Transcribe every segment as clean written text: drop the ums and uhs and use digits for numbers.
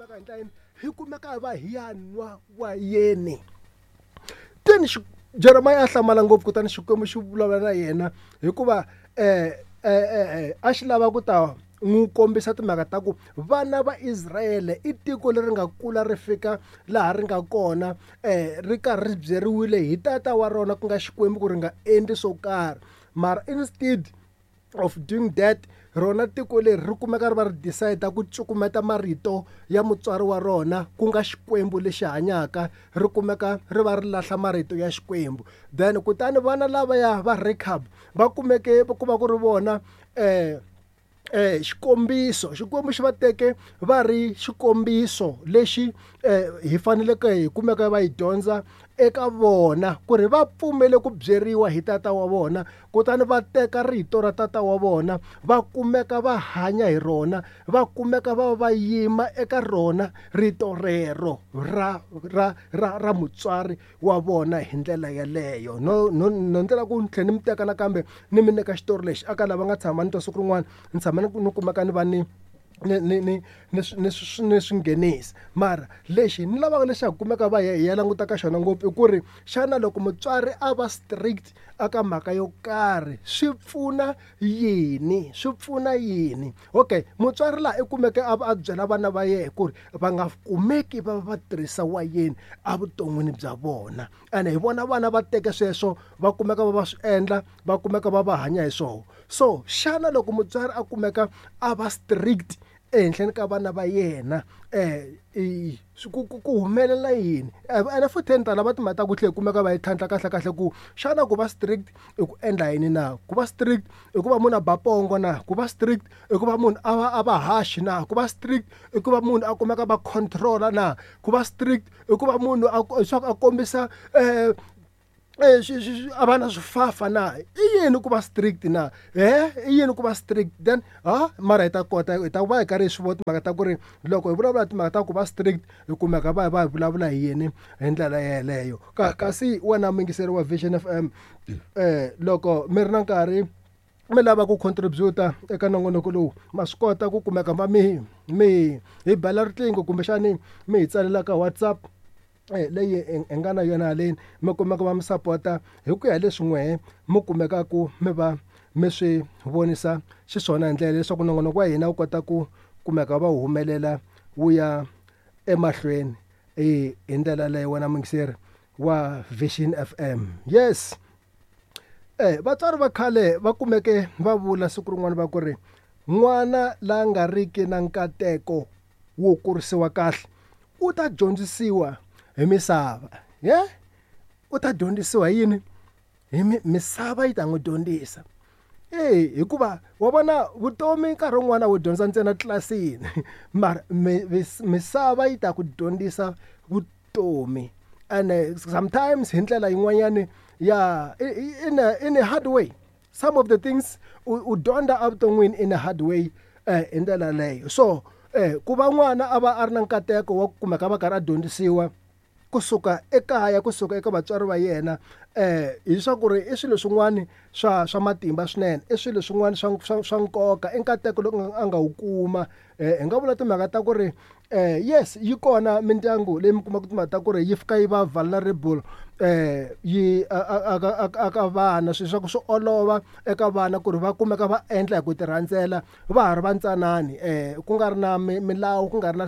kumeka hi ndlela yini hi kumeka hi va hi ya nwa wayeni then Jeremiah a hlamala ngopfu kutani Xikwembu xi vulavula na yena hikuva a xi lava ku ta n'wi kombisa timhaka ta ku vana va Israyele i tiko leri nga kula ri fika laha ri nga kona ri karhi ri byeriwile hi tata wa rona ku nga Xikwembu ku ri nga endli swo karhi mara instead of doing that rona tiko leri ri kumeka ri va ri decide ku cukumeta marito ya mutswari wa rona ku nga Xikwembu lexi hanyaka ri kumeka ri va ri lahla marito ya Xikwembu then kutani vana lavaya va Rechab va kumeke ku va ku ri vona xikombiso Xikwembu xi va teke va ri xikombiso lexi hi faneleke hi kumeka va yi dyondza eka vona ku ri va pfumele ku byeriwa hi tata wa vona kutani va teka rito ra tata wa vona va kumeka va hanya hi rona va kumeka va va yima eka rona rito rero ra ra ra ra mutswari wa vona hi ndlela yeleyo no no no ndlela ku ni tlhela ni mi teka nakambe ni mi nyika xitori lexi aka lava nga tshama ni twa siku rin'wana ni tshama ni kumeka ni va ni ni ni ni ni ni ni swi nghenisa mara lexi ni lavaka leswaku kumeka va hi ya languta ka xona ngopfu i ku ri xana loko mutswari a va strict aka mhaka yo karhi swi pfuna yini swi pfuna yini okay mutswari laha i kumeke a a byela vana va yena ku ri va nga kumeki va va tirhisa wayeni evuton'wini bya vona ene hi vona vana va teke sweswo va kumeka va va swi endla va kumeka va va hanya hi swona so xana loko mutswari a kumeka a va strict ehenhleni ka vana va yena ku ku ku humelela yini ene futhi ni ta lava timhaka ta ku tlhela kumeka va yi tlhantlha kahle kahle ku xana ku va strict i ku endla yini na ku va strict i ku va munhu a ba pongo na ku va strict i ku va munhu a va a va harsh na ku va strict i ku va munhu a kumeka va control-a na ku va strict i ku va munhu a leswaku a kombisa a va na swifafa na i yini ku va strict na he i yini ku va strict then ha mara hi ta kota hi ta va hi karhi hi swi vona timhaka ta ku ri loko hi vulavula timhaka ta ku va strict hi kumeka va va hi vulavula hi yini hi ndlela yeleyo ka kasi wena muyingiseri wa Vision F_M loko mi ri na nkarhi mi lava ku contribute eka nongonoko lowu ma swi kota ku kumeka va mi mi hi bela riqingho kumbexani mi hi tsalela ka WhatsApp leyi hi nga na yona haleni mi kumeka va mi sapota hi ku ya hi leswi n'wehe mi kumekaku mi va mi swi vonisa xiswona hi ndlela leswaku nongonoko wa hina wu kota ku kumeka va humelela wu ya emahlweni hi ndlela yaleyo wena muyingiseri wa Vision F_M yes. Vatswari va khale va kumeke va vula siku rin'wana va ku ri n'wana la nga riki na nkateko wo kurisiwa kahle u ta dyondzisiwa hi misava ye u ta dyondzisiwa hi yini hi misava yi ta n'wi dyondzisa e hikuva wa vona vutomi nkarhi wun'wana wu dyondza ntsena tlilasini mara misava yi ta ku dyondzisa vutomi ene sometimes hi ndlela yin'wanyani ya in a, in a hard way some of the things u dyondza evuton'wini in a hard way hi ndlela leyo so ku va n'wana a va a ri na nkateko wa ku kumeka va karhi a dyondzisiwa kusuka ekaya kusuka eka vatswari va yena hi swa ku ri i swilo swin'wana swa swa matimba swinene i swilo swin'wana swa swa swa nkoka i nkateko lowu a nga wu kuma hi nga vula timhaka ta ku ri yes yi kona mindyangu leyi mi kumaka timhaka ta ku ri yi fika yi va vulnerable yi a ka vana swilo swa ku swi olova eka vana ku ri va kumeka va endla hi ku ti rhandzela va ha ri va ntsanani ku nga ri na milawu ku nga ri na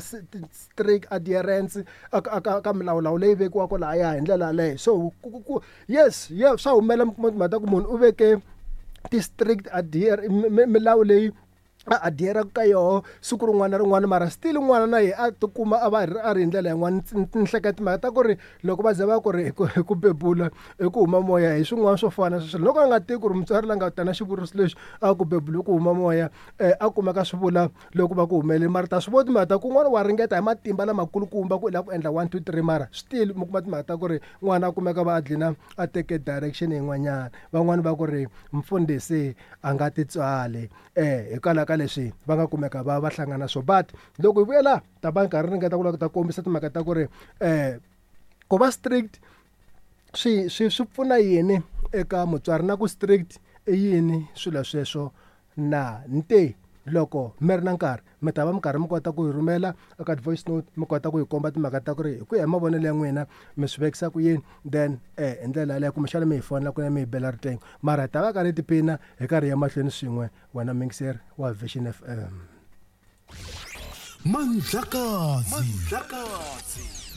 strict adherence a ka milawulawu leyi vekiwaka lahaya hi ndlela yaleyo so ku yes yes swa humelela mi kuma timhaka ta ku munhu u veke ti-strict adhere milawu leyi a adhere ka yoho siku rin'wana na rin'wana mara still n'wana na yena a tikuma a va a ri hi ndlela yin'wana ni hleketa timhaka ta ku ri loko va ze va ku ri hi ku bebula i ku huma moya hi swin'wana swo fana sweswo loko a nga tivi ku ri mutswari la nga ta na xivuriso lexi a ku bebula ku huma moya a kumeka swi vula loko va ku humelele mara ta swi vona timhaka ta ku n'wana wa ringeta hi matimba lamakulukumba ku i lava ku endla 1 2 3 mara still mi kuma timhaka ta ku ri n'wana a kumeka va a dlina a teke direction yin'wanyana van'wani va ku ri mfundhisi a nga titswali hikwalaho ka leswi va nga kumeka va va hlangana swo but loko hi vuyela ta va nkarhi ringeta ku lava ku ta kombisa timhaka ta ku ri ku va strict swi swi swi pfuna yini eka mutswari na ku strict i yini swilo sweswo na ni te Loko mi ri na nkarhi mi ta va mi karhi mi kota ku yi rhumela eka voice note, mi kota ku yi komba timhaka ta ku ri hi ku ya hi mavonelo ya n'wina mi swi vekisa ku yini, then hi ndlela yaleyo kumbexana mi hi fonela kunene mi hi bela riqingho. Mara hi ta va karhi hi tiphina hi karhi hi ya mahlweni swin'we, wena muyingiseri wa Vision FM. Mandlakazi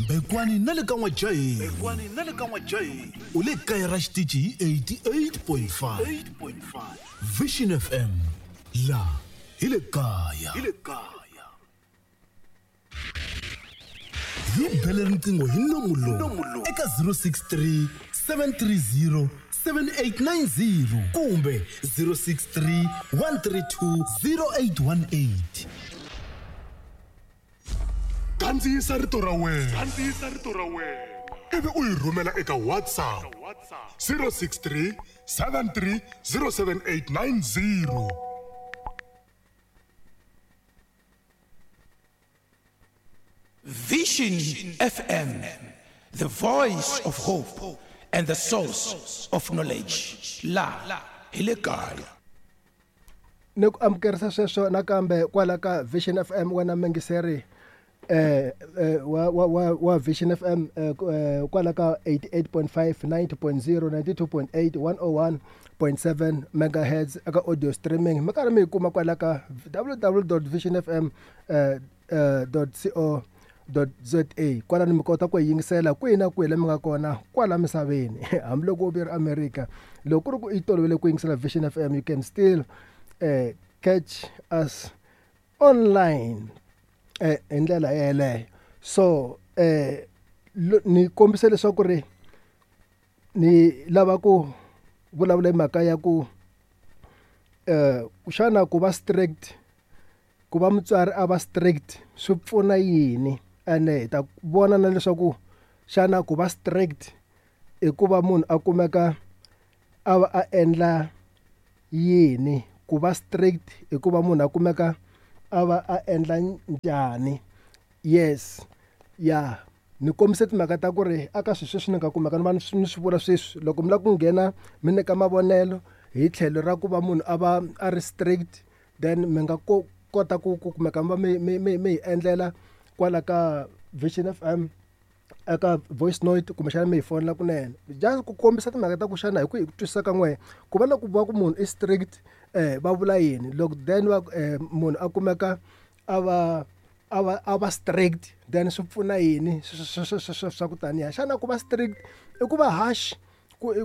Mbekwani na le ka N'wajaheni u le kaya ra xitichi hi 88.5 Vision FM la hi le kaya. Hi bele riqingho hi nomu lowu eka 063 730 7890 kumbe 063 132 0818. Kandziyisa rito ra wena. Kandziyisa rito ra wena. Ivi u yi rhumela eka WhatsApp 063 73 07890. Vision FM, the voice of hope and the source of knowledge. La hi le kaya. Ni ku amukerisa sweswo nakambe kwala ka Vision FM, wena mingiseri wa Vision FM kwala ka 88.5, 90.0, 92.8, 101.7 megahertz eka audio streaming. Mi karhi mi yi kuma kwala ka www.visionfm .co .za. Kwalano mi kota ku yi yingisela kwihi na kwihi la mi nga kona kwala misaveni, hambiloko u ve America. Loko ku ri ku i tolovele ku yingisela Vision FM, you can still catch us online hi ndlela yeleyo. So ni kombisa leswaku ri ni lava ku vulavula hi mhaka ya ku xana ku va strict, ku va mutswari a va strict swi pfuna yini, ene hi ta vona na leswaku xana ku va strict i ku va munhu a kumeka a va a endla yini, ku va strict i ku va munhu a kumeka a va a endla njhani. Yes, ya ni kombise timhaka ta ku ri aka swilo sweswi ni nga kumeka ni va ni swi vula sweswi, loko mi lava ku nghena mi nyika mavonelo hi tlhelo ra ku va munhu a va a ri strict, then mi nga kota ku kumeka mi va mi hi endlela kwala ka Vision FM eka voice note, kumbexana mi hi fonela kunene, just ku kombisa timhaka ta ku xana hi ku hi ku twisisa ka n'wehe ku va loko va ku munhu i strict va vula yini. Loko then va munhu a kumeka a va strict, then swi pfuna yini swa ku taniya. Xana ku va strict i ku va harsh, i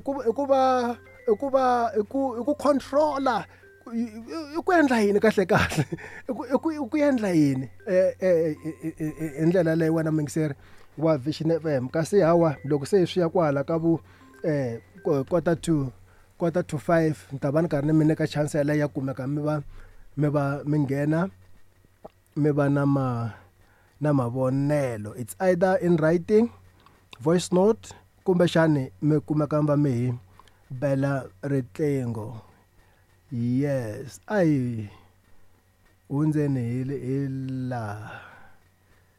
ku controller, i ku endla yini kahle kahle, i ku endla yini hi ndlela leyi wena muyingiseri wa Vision FM. Kasi hawa loko se swi ya kwala ka vu 4:45 ni ta va ni karhi ni mi nyika chance yaleyo ya kumeka mi va mi nghena mi va na mavonelo. It's either in writing, voice note, kumbexani mi kumeka mi va mi hi bela riqingho. Yes, ai hundzeni hi la.